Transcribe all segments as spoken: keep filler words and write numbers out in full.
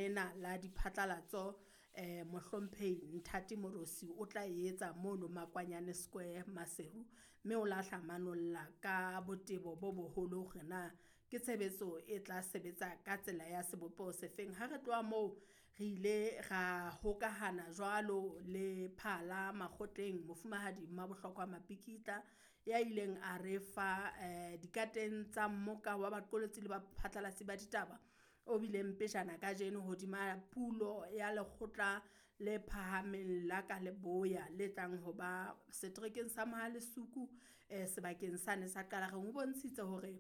lena la diphatlalatso eh Mohlomphehi Nthati Morosi o tla etsa mono Makwanyane Square Maseru, mme o lahla manolla ka botebo bo boholo hore na ke tshebetso e tla sebetsa ka tsela ya sebopeho sefeng. Ha re tloha moo re ile ra hokahana jwalo le Phala Makgotleng, Mofumahadi Mmabohlokwa Mapikitla ya ileng a re fa eh dikateng tsa mmoka wa baqolotsi le baphatlalatsi ba ditaba o bileng pejana kajeno hodima pulo ya lekgotla le phahameng la ka leboya le tlang ho ba seterekeng sa Mohalesuku eh sebakeng sane sa Qalareng. O bontshitse hore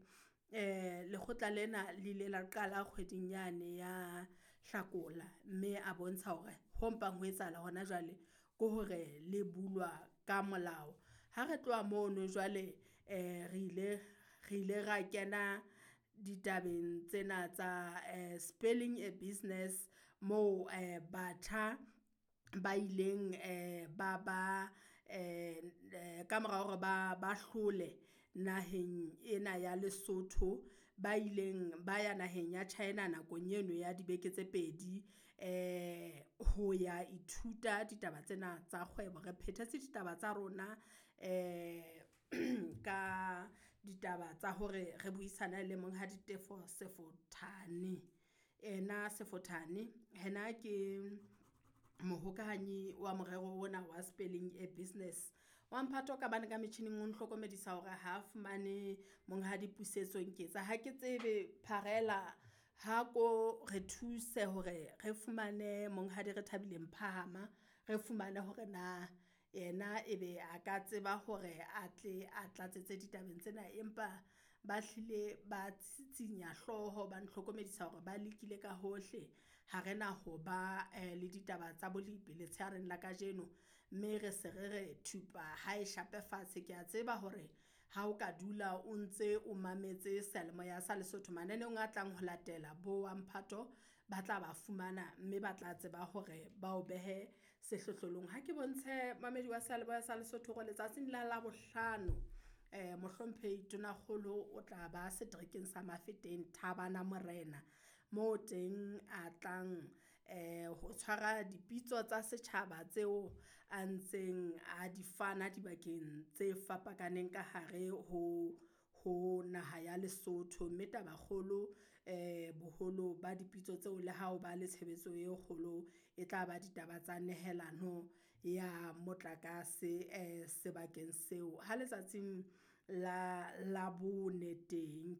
eh lekgotla lena le ile la qala kgweding yane ya Hlakola, mme a bontsha hore ho mpang ho etsahala hona jwale ke hore le bulwa ka molao. Ha re tloha mono jwale eh re ile re ile ra kena ditabeng tsena tsa eh spelling a business moo eh batjha ba ileng eh ba ba eh ka mora hore ba ba hlole naheng ena ya Lesotho, ba ileng ba ya naheng ya China nakong eno ya dibeke tse pedi eh ho ya ithuta ditaba tsena tsa kgwebo. Re phethetse ditaba tsa rona eh ka ditaba tsa hore re buisane le Monghadi Tefo Sefothane, ena Sefothane hena ke mohokahanyi wa morero ona wa spelling a business. Wa mphato ka bane ka metjhining o nhlokomedisa hore ha fumane Monghadi Pusetso Nketsa. Ha ke tsebe pharela ha ko re thuse hore re fumane Monghadi re thabile Mphahama, re fumane hore na yena ebe a ka tseba hore a tle a tlatsetse ditabeng tsena, empa ba hlile ba tsitsinya hlooho ba nhlokomedisa hore ba lekile ka hohle. Ha rena ho ba le ditaba tsa bolepi letsheareng la kajeno, mme re se re re thupa ha e shape fatshe. Ke a tseba hore ha o ka dula o ntse o mametse seyalemoya sa Lesotho mananeong a tlang ho latela bo wa mphato ba tla ba fumana, mme ba tla tseba hore ba o behe sehlohlolong. Ha ke bontshe mamedi wa seyalemoya sa Lesotho hore letsatsing la Labohlano eh Mohlomphehi Tonakgolo o tla ba seterekeng sa Mafeteng Thabana Morena, moo teng a tlang eh ho tshwara dipitso tsa setjhaba tseo a ntseng a di fana dibakeng tse fapakaneng ka hare ho ho naha ya Lesotho. Mme taba kgolo eh boholo ba dipitso tseo le ha o ba le tshebetso e kgolo e tla ba ditaba tsa nehelano ya motlakase eh sebakeng seo. Ha letsatsing la Labone teng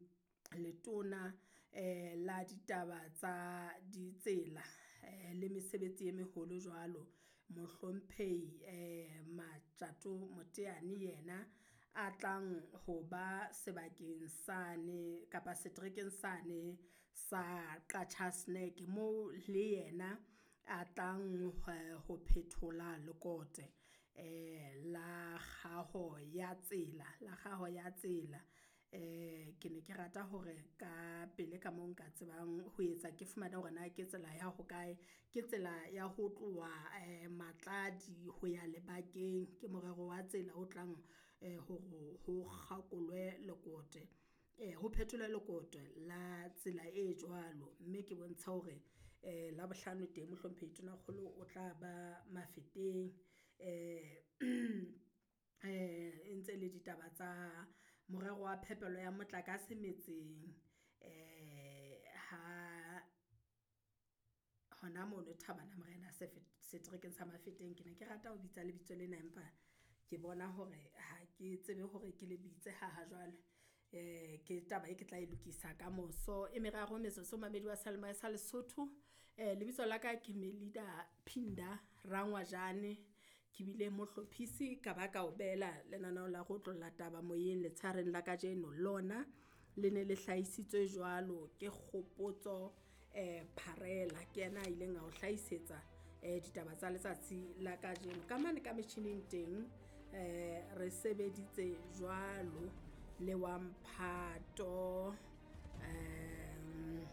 letona eh la ditaba tsa ditsela eh le mesebetsi e meholo jwalo Mohlomphehi eh Matjato Moteane yena a tlang ho ba sebakeng sane kapa seterekeng sane sa Qacha's Nek moo le yena a tlang ho phethola lekote eh la kgaho ya tsela, la kgaho ya tsela. Eh ke ne ke rata hore ka pele ka moo nka tsebang ho etsa ke fumane hore na ke tsela ya hokae, ke tsela ya ho tloha eh Matladi ho ya Lebakeng. Ke morero wa tsela o tlang eh hore ho kgakolwe lekote eh ho phetholwe lekote la tsela e jwalo. Mme ke bontsha hore eh Labohlano teng Mohlomphehi Tonakgolo o tla ba Mafeteng eh eh e ntse le ditaba tsa morero wa phepelo ya motlakase metseng eh ha hona mono Thabana Morena seterekeng sa Mafeteng. Ke ne ke rata ho bitsa lebitso lena, empa ke bona hore ha ke tsebe hore ke le bitse ha ha jwale. Eh ke taba e ke tla e lokisa ka moso e meraro metsotso mamedi wa seyalemoya sa Lesotho. Eh lebitso la ka ke Melida Phinda Rangwajane, ke bile mohlophisi ka ba ka o beela lenaneo la ho otlolla taba moyeng letsheareng la kajeno. Lona le ne le hlahisitswe jwalo ke Kgopotso eh Pharela, ke yena a ileng a o hlahisetsa eh ditaba tsa letsatsi la kajeno. Ka mane ka metjhining teng eh re sebeditse jwalo le wa mphato um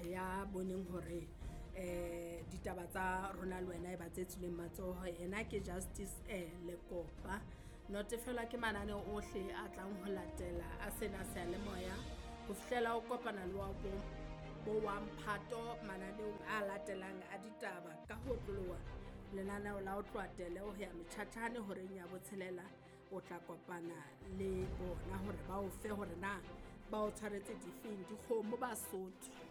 ya boneng hore eh ditaba tsa rona le wena e ba tse tswileng matsoho. Ena ke Justice eh Lekopa. Notefelwa ke mananeo ohle a tlang ho latela a sena seyalemoya ho fihlela o kopana le wa bo, bo wa mphato mananeong a a latelang a ditaba ka ho otloloha lenaneo la ho tloha tele ho ya metjhatjhane horeng ya botshelela o tla kopana le bona hore ba o fe hore na ba o tshwaretse difeng dikgomo Basotho.